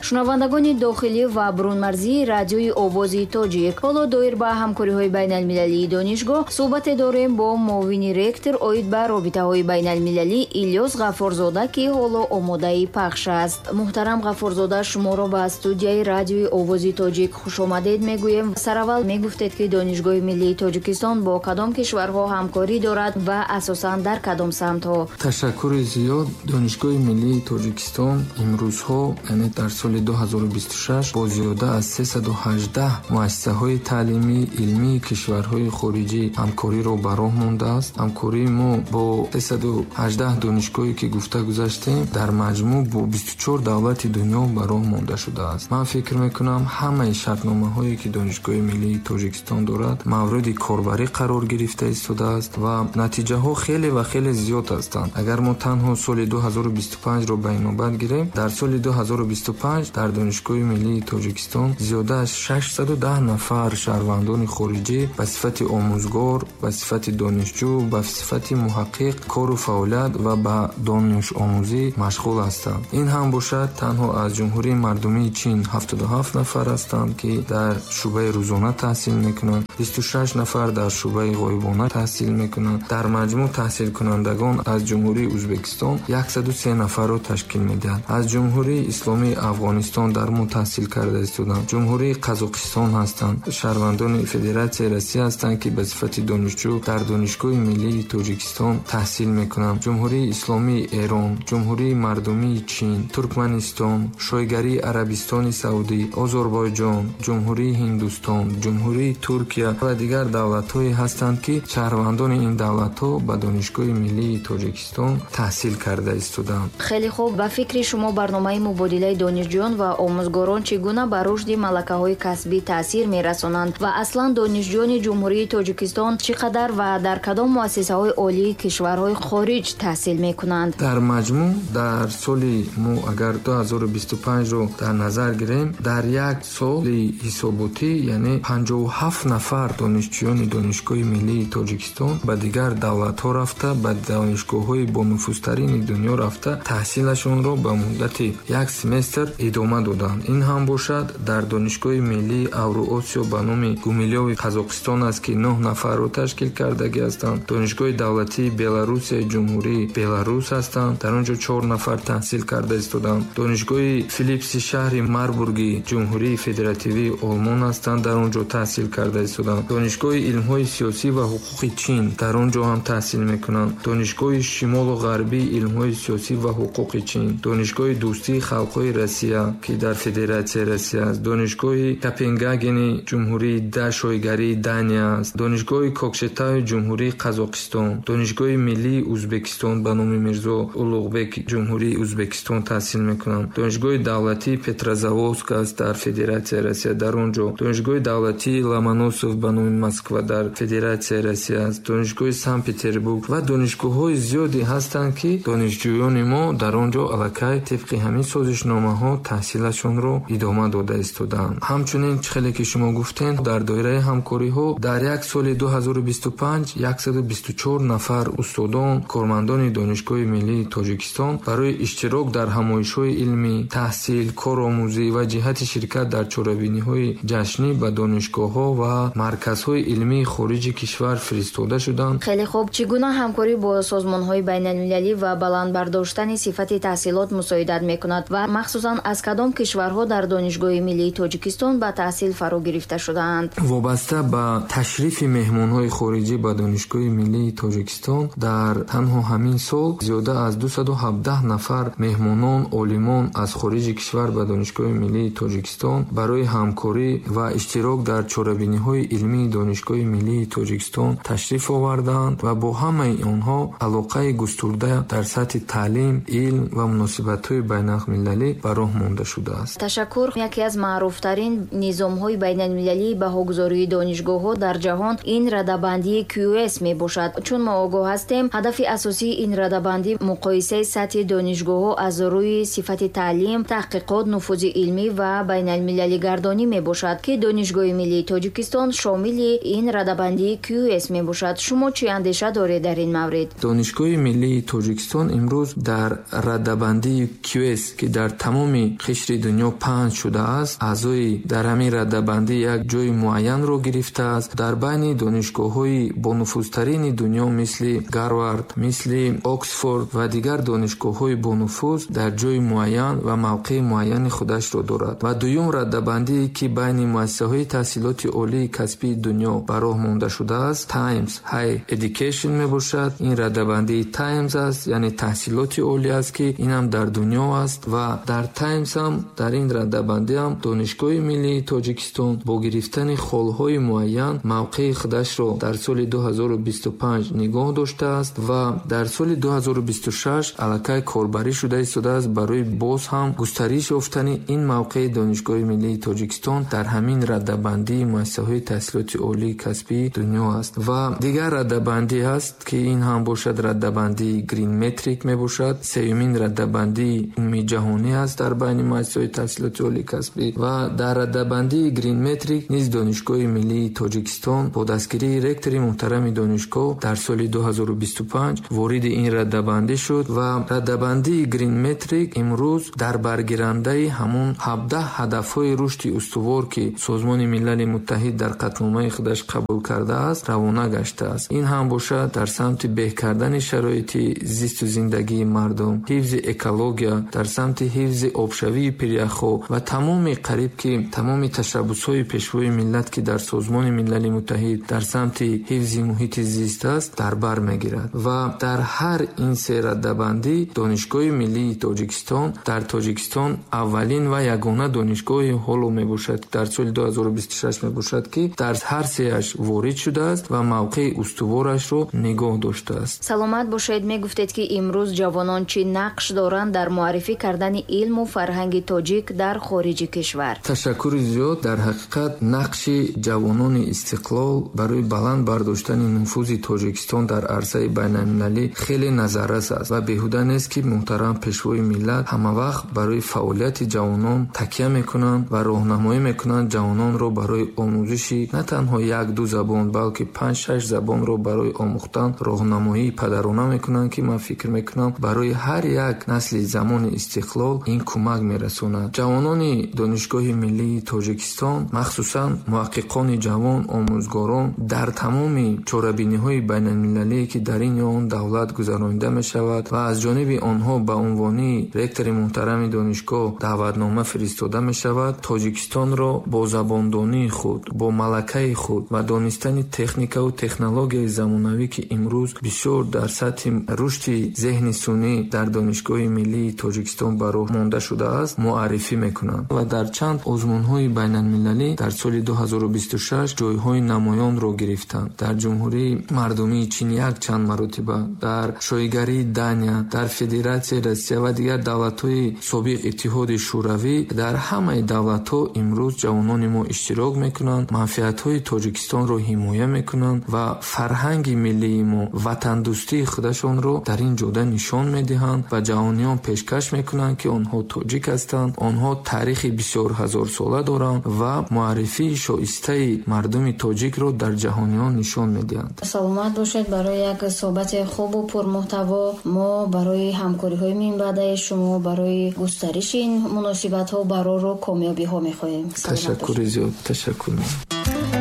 Шунавандагони дохилӣ ва бурунмарзии Радиои Овози Тоҷик, ҳоло доир ба ҳамкориҳои байналмилалии донишгоҳ суҳбате дорем бо муовини ректор оид ба робитаҳои байналмилалӣ Илёс Ғаффорзода, ки ҳоло омодаи пахш аст. Муҳтарам Ғаффорзода, шуморо ба студияи Радиои Овози Тоҷик хушомадед мегӯем. Сараввал мегуфтед, ки Донишгоҳи миллии Тоҷикистон бо кадом кишварҳо ҳамкорӣ дорад ва асосан дар кадом самтҳо? Ташаккури зиёд. Донишгоҳи миллии Тоҷикистон имрӯзҳо, яъне дар соли 2026, бо зиёда аз 318 муассисаҳои таълимӣ, илмии кишварҳои хориҷӣ ҳамкориро ба роҳ мондааст. Ҳамкории мо бо 318 донишгоҳе, ки гуфта гузаштем, дар маҷмӯъ бо 24 давлати дунё ба роҳ монда шудааст. Ман фикр мекунам, ҳамаи шартномаҳое, ки Донишгоҳи миллии Тоҷикистон дорад, мавриди корбарӣ қарор гирифта истодааст ва натиҷаҳо хеле ва хеле зиёд ҳастанд. Агар мо танҳо соли 2025-ро ба инобат гирем, дар соли 2025 дар Донишгоҳи миллии Тоҷикистон зиёда аз 610 нафар шаҳрвандони хориҷӣ ба сифати омӯзгор, ба сифати донишҷӯ, ба сифати муҳаққиқ кору фаъолият ва ба донишомӯзӣ машғул ҳастанд. Ин ҳам бошад, танҳо аз Ҷумҳурии Мардумии Чин 77 нафар ҳастанд, ки дар шӯъбаи рӯзона таҳсил мекунанд, 26 нафар дар шӯъбаи ғоибона таҳсил мекунанд. Дар маҷмӯъ таҳсилкунандагон аз Ҷумҳурии Ӯзбекистон 103 нафарро ташкил медиҳанд. Аз Ҷумҳурии Исломии Афғонистон дар мо таҳсил карда истоданд, Ҷумҳурии Қазоқистон ҳастанд, шаҳрвандони Федератсияи Россия ҳастанд, ки ба сифати донишҷӯ дар Донишгоҳи миллии Тоҷикистон таҳсил мекунанд, Ҷумҳурии Исломии Эрон, Ҷумҳурии Мардумии Чин, Туркманистон, Шоҳигарии Арабистони Саудӣ, Озарбойҷон, Ҷумҳурии Ҳиндустон, Ҷумҳурии Туркия ва дигар давлатҳое ҳастанд, ки шаҳрвандони ин давлатҳо ба Донишгоҳи миллии Тоҷикистон таҳсил карда истоданд. Хеле хуб. Ба фикри шумо, барномаи мубодилаи донишҷӯён ва омӯзгорон чӣ гуна ба рушди малакаҳои касбӣ таъсир мерасонанд ва аслан донишҷӯёни Ҷумҳурии Тоҷикистон чӣ қадар ва дар кадом муассисаҳои олии кишварҳои хориҷ таҳсил мекунанд? Дар маҷмӯъ дар соли мо агар 2025-ро дар назар гирем, дар як соли ҳисоботӣ, яъне 57 нафар донишҷӯёни Донишгоҳи миллии Тоҷикистон ба дигар давлатҳо рафта, ба донишгоҳҳои бонуфузтарини дунё рафта, таҳсилашонро ба муддати як семестр идома доданд. Ин ҳам бошад, дар Донишгоҳи миллии Авруосиё ба номи Гумилёви Қазоқистон аст, ки 9 нафарро ташкил кардагӣ ҳастанд. Донишгоҳи давлатии Беларусияи Ҷумҳурии Беларус ҳастанд, дар он ҷо 4 нафар таҳсил карда истоданд. Донишгоҳи Филипси шаҳри Марбурги Ҷумҳурии Федеративии Олмон ҳастанд, дар он ҷо таҳсил карда истоданд. Донишгоҳи илмҳои сиёсӣ ва ҳуқуқи Чин, дар он ҷо ҳам таҳсил мекунанд. Донишгоҳи Шимолу Ғарбии илмҳои сиёсӣ ва ҳуқуқи Чин, Донишгоҳи дӯстии халқҳои Россия, ки дар Федератсияи Россия аст, Донишгоҳи Копенгагени Ҷумҳурии Шоҳигарии Дания аст, Донишгоҳи Кокшетауи Ҷумҳурии Қазоқистон, Донишгоҳи миллии Ӯзбекистон ба номи Мирзо Улуғбек Ҷумҳурии Ӯзбекистон таҳсил мекунанд. Донишгоҳи давлатии Петрозаводск аст дар Федератсияи Россия, дар он ҷо Донишгоҳи давлатии Ломоносов ба номи Москва дар Федератсияи Россия аст, Донишгоҳи Санкт-Петербург ва донишгоҳҳои зиёде ҳастанд, ки донишҷӯёни мо дар он ҷо аллакай тибқи ҳамин созишномаҳо таҳсилашонро идома дода истодаанд. Ҳамчунин, чӣ хеле ки шумо гуфтем, дар доираи ҳамкориҳо дар як соли 2025 124 нафар устодон, кормандони Донишгоҳи миллии Тоҷикистон барои иштирок дар ҳамоишҳои илмӣ, таҳсил, коромӯзӣ ва ҷиҳати ширкат дар чорабиниҳои ҷашнӣ ба донишгоҳҳо ва марказҳои илмии хориҷи кишвар фиристода шуданд. Хеле хуб. Чӣ гуна ҳамкорӣ бо созмонҳои байналмилалӣ ва баланд бардоштани сифати таҳсилот мусоидат мекунад ва махсусан аз кадом кишварҳо дар Донишгоҳи миллии Тоҷикистон ба таҳсил фаро гирифта шудаанд? Вобаста ба ташрифи меҳмонҳои хориҷӣ ба Донишгоҳи миллии Тоҷикистон дар танҳо ҳамин сол зиёда аз 217 нафар меҳмонон, олимон аз хориҷи кишвар ба Донишгоҳи миллии Тоҷикистон барои ҳамкорӣ ва иштирок дар чорабиниҳои илмии Донишгоҳи миллии Тоҷикистон ташриф овардаанд ва бо ҳамаи онҳо алоқаи густурда дар сатҳи таълим, илм ва муносибатҳои байналмилалӣ ба роҳ монда шудааст. Ташаккур. Яке аз маъруфтарин низомҳои байналмилалии баҳогузории донишгоҳҳо дар ҷаҳон ин радабандии QS мебошад. Чун мо огоҳ ҳастем, ҳадафи асосии ин радабандӣ муқоисаи сатҳи донишгоҳҳо аз рӯи сифати таълим, таҳқиқот, нуфузи илмӣ ва байналмилалигардонӣ мебошад, ки Донишгоҳи миллии Тоҷикистон шомили ин радабандии QS мебошад. Шумо чӣ андеша доред дар ин маврид? Донишгоҳи миллии Тоҷикистон имрӯз дар радабандии QS, ки дар тамоми байни қишри дунё паҳн шудааст, аъзои дар ҳамин радабандӣ як ҷои муайянро гирифтааст. Дар байни донишгоҳҳои бонуфузтарини дунё мисли Гарвард, мисли Оксфорд ва дигар донишгоҳҳои бонуфуз дар ҷои муайян ва мавқеи муайяни худашро дорад. Ва дуюм радабандие, ки байни муассисаҳои таҳсилоти олии касбии дунё ба роҳ монда шудааст, Times Higher Education мебошад. Ин радабандии Times аст, яъне таҳсилоти олӣ аст, ки инам дар дунё аст ва дар Times ҳам дар ин радабандӣ ҳам Донишгоҳи миллии Тоҷикистон бо гирифтани холҳои муайян мавқеи худашро дар соли 2025 нигоҳ доштааст ва дар соли 2026 аллакай корбарӣ шуда истодааст барои боз ҳам густариш ёфтани ин мавқеи Донишгоҳи миллии Тоҷикистон дар ҳамин радабандии муассисаҳои таҳсилоти олии касбии дунё аст. Ва дигар радабандӣ ҳаст, ки ин ҳам бошад радабандии Green Metric мебошад. Сеюмин радабандии умумиҷаҳонӣ аст дар байни муассисаҳои таҳсилоти олии касбӣ ва дар радабандии Green Metric низ Донишгоҳи миллии Тоҷикистон бо дастгирии ректори муҳтарами донишгоҳ дар соли 2025 вориди ин радабандӣ шуд ва радабандии Green Metric имрӯз дар баргирандаи ҳамон 17 ҳадафҳои рушди устувор, ки Созмони Милали Муттаҳид дар қатъномаи худаш қабул кардааст, равона гаштааст. Ин ҳам бошад дар самти беҳ кардани шароити зисту зиндагии мардум, ҳифзи экология, дар самти ҳифзи обшавии пиряхҳо ва тамоми қариб ки тамоми ташаббусҳои Пешвои миллат, ки дар Созмони Милали Муттаҳид дар самти ҳифзи муҳити зист аст, дар бар мегирад. Ва дар ҳар ин се радабандӣ Донишгоҳи миллии Тоҷикистон дар Тоҷикистон аввалин ва ягона донишгоҳи ҳоло мебошад, дар соли 2026 мебошад, ки дар ҳар сеяш ворид шудааст ва мавқеи устуворашро нигоҳ доштааст. Саломат бошед. Мегуфтед, ки имрӯз ҷавонон чӣ нақш доранд дар муаррифӣ кардани илму фарҳанги тоҷик дар хориҷи кишвар? Ташаккури зиёд. Дар ҳақиқат нақши ҷавонони истиқлол барои баланд бардоштани нуфузи Тоҷикистон дар арсаи байналмилалӣ хеле назаррас аст ва беҳуда нест, ки муҳтарам Пешвои миллат ҳамавақт барои фаъолияти ҷавонон такя мекунанд ва роҳнамоӣ мекунанд ҷавононро барои омӯзиши на танҳо як-ду забон, балки 5-6 забонро барои омӯхтан роҳнамоии падарона мекунанд, ки ман фикр мекунам барои ҳар як насли замони истиқлол ин кӯмак мерасонад. Ҷавонони Донишгоҳи миллии Тоҷикистон, махсусан муҳаққиқони ҷавон, омӯзгорон дар тамоми чорабиниҳои байналмилалие, ки дар ин ё он давлат гузаронида мешавад ва аз ҷониби онҳо ба унвони ректори муҳтарами донишгоҳ даъватнома фиристода мешавад, Тоҷикистонро бо забондонии худ, бо малакаи худ ва донистани техникаву технологияи замонавӣ, ки имрӯз бисёр дар сатҳи рушди зеҳни сунъӣ дар Донишгоҳи миллии Тоҷикистон ба роҳ монда шудааст, муаррифӣ мекунанд ва дар чанд озмунҳои байналмилалӣ дар соли 2026 ҷойҳои намоёнро гирифтанд. Дар Ҷумҳурии Мардумии Чин якчанд маротиба, дар Шоҳигарии Дания, дар Федератсияи Россия ва дигар давлатҳои собиқ Иттиҳоди Шӯравӣ, дар ҳамаи давлатҳо имрӯз ҷавонони мо иштирок мекунанд, манфиатҳои Тоҷикистонро ҳимоя мекунанд ва фарҳанги миллии мо, ватандӯстии худашонро дар ин ҷода нишон медиҳанд ва ҷаҳониён пешкаш мекунанд, ки онҳо тоҷик ҳастанд, онҳо таърихи бисёр ҳазорсола доранд ва муаррифии шоистаи мардуми тоҷикро дар ҷаҳониён нишон медиҳанд. Саломат бошед барои як суҳбати хубу пурмуҳтаво. Мо барои ҳамкориҳои минбаъдаи шумо, барои густариши ин муносибатҳо барору комёбиҳо мехоҳем. Ташаккури зиёд. Ташаккур.